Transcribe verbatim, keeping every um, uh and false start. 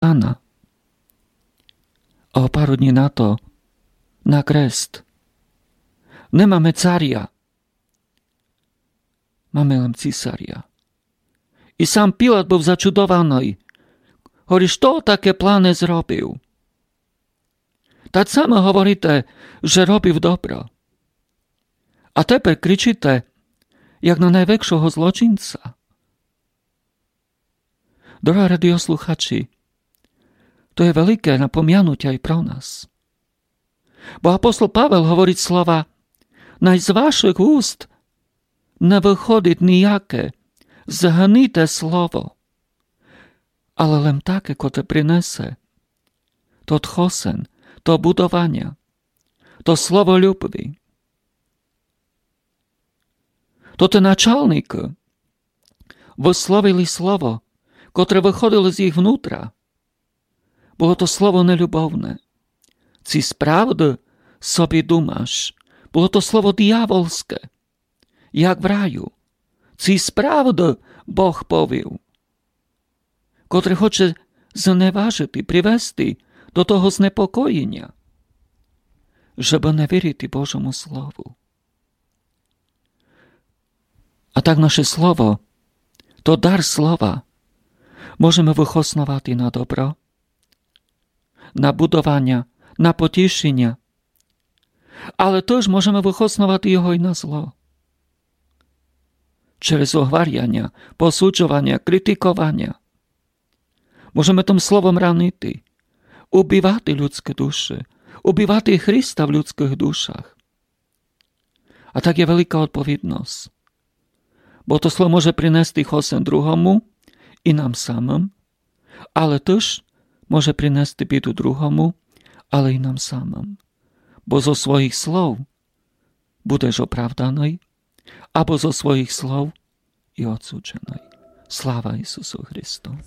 Ана. А о пару днї на то на крест. Не маме царя. Маме лем цисаря. И сам Пилат быв зачудованый. Говори: Што таке плане зробив? Та саме говорите, же робив добро. А тепер кричите, як на найвекшого злочинця. Дорогы радиослухачі, то є велике напомянутя и про нас. Бо апостол Павел говорить слова: Най з вашых уст не выходить нияке згнїте слово, але лем таке, котре принесе тот хосен, то будованя, то слово любви. То тоты началникы высловили слово, котре выходило з їх внутра. Было то слово нелюбовне. Ци справды собі думаш? Было то слово дияволске, як в раю. Ци справды Бог повів, котре хоче зневажити, привести до того знепокоєня, жебы не вірити Божому слову. А так наше слово, то дар слова, можеме выхосновати на добро, на будованя, на потішеня, але тыж можеме выхосновати його и на зло. Через огваряня, посуджованя, критикованя. Можеме тым словом ранити, убивати людскы души, убивати Христа в людскых душах. А так є велика одповідность. Бо то слово може принести хосен другому и нам самым, але тыж може принести біду другому, але и нам самым. Бо зо своїх слов будеш оправданый, або зо своїх слов и одсудженый. Слава Ісусу Христу!